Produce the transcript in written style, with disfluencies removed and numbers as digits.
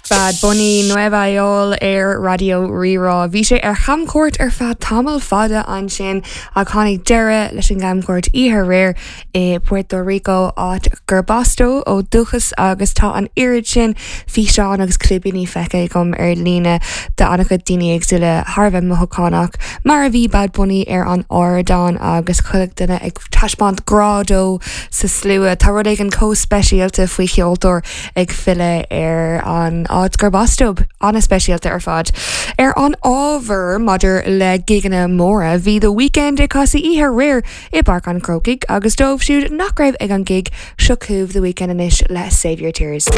Bad Bunny, Nueva Yol ar Raidió Rí-Rá. Bhí sé ar chamchuairt ar feadh tamall fada ansin ach tháinig deireadh leis an gcamchuairt oíche aréir i Puerto Rico, áit gurb as dó ó dhúchas agus tá an oiread sin físeán agus clibíní feicthe agam ar líne d'an-chuid daoine éagsúla thar a bheith mothúchánach mar a bhí Bad Bunny ar an ardán agus chuile dhuine ag taispeáint grá dó sa slua. Tá rud éigin chomh speisialta faoi cheoltóir ag filleadh ar an áit gurb as dóibh. An-speisialta ar fad. Ar an ábhar maidir le gigeanna móra, bhí The Weeknd ag casadh oíche aréir i bPáirc an Chrócaigh agus dóibh siúd nach raibh ag an gig, seo chugaibh The Weeknd anois le Save Your Tears.